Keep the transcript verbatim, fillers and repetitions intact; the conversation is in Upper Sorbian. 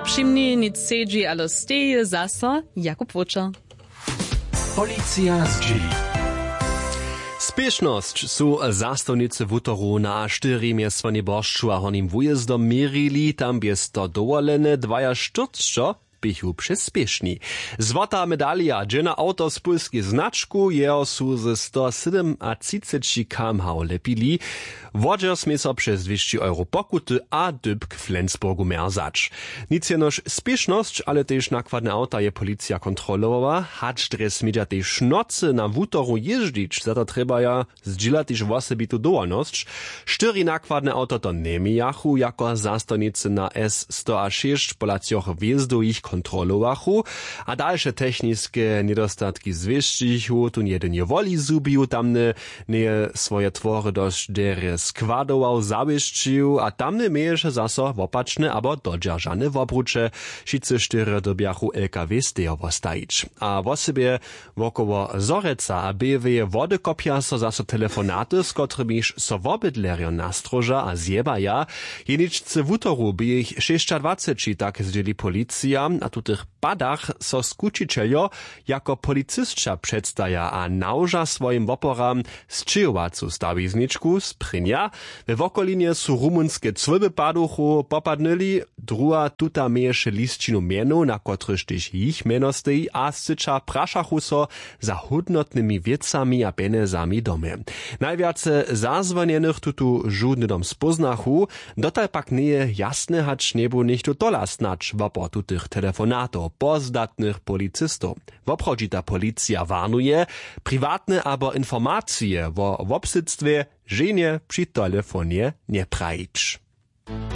Přimni nic sedźi, ale steji zaso Jakub Wóčer. Policija zdźěli. Spěšnosć su zastawnicy wutoru na štyri mjez swójnej boršću a hornim wujězdom měrili, tam bě sto dowolene dwajaštyrcćo běchu přez spěšni. Złota medalija dźe na awto z pólskej značku, jeho su ze sto sydomatřiceći km h lepili. Wodźer smě so přez dwěsći euro pokuty a dypk w flensburgu mjerzać. Nic jenož spěšnosć ale tež nakładne awta je policija kontrolowała, hač drje smědźa tež w nocy na wutoru jězdźić, za to trjebaja zdźěla tež wosebitu dowolnosć. Štyri nakładne awto to njemějachu jako zastawnicy na s sto a šěsć pola třoch wjezdow jich kontrolowachu, a dalše techniske njedostatki zwěsćichu tón jedyn je woli zhubił tamny, njeje swoje twory dosć derje składował zawěsćił a tamny měješe zaso wopačne abo dodźeržane wobruće. Wšitcy štyrjo dyrbjachu lkw stejo wostajić a wosebje wokoło zhorjeca a běłeje wody kopja so zaso telefonaty z kotrymiž so wobydlerjo nastróža a zjěbaja. Jeničce wutoru bě jich šěsćadwaceći, tak zdźěli policija. A w tutych padach so skućićeljo jako policisća předstaja a nałoža swojim woporam sćěhowacu stawizničku sprěnja. We wokolinje su rumunske cłyby paduchu popadnyli, druha tuta měješe lisćinu mjenow na kotryž tež jich mjeno steji a scyća prašachu so za hódnotnymi wěcami a pjenjezami w domje. Najwjace zazwonjenych tutu žudny dom spóznachu. Dotal pak njeje jasne hač njebudź něchtó tola snadź wopor tutych telefonatow po zdatnych policistow. Woprawdźita policija warnuje, priwatne abo informacije wo wobsydstwje ženje při telefonje njeprajić.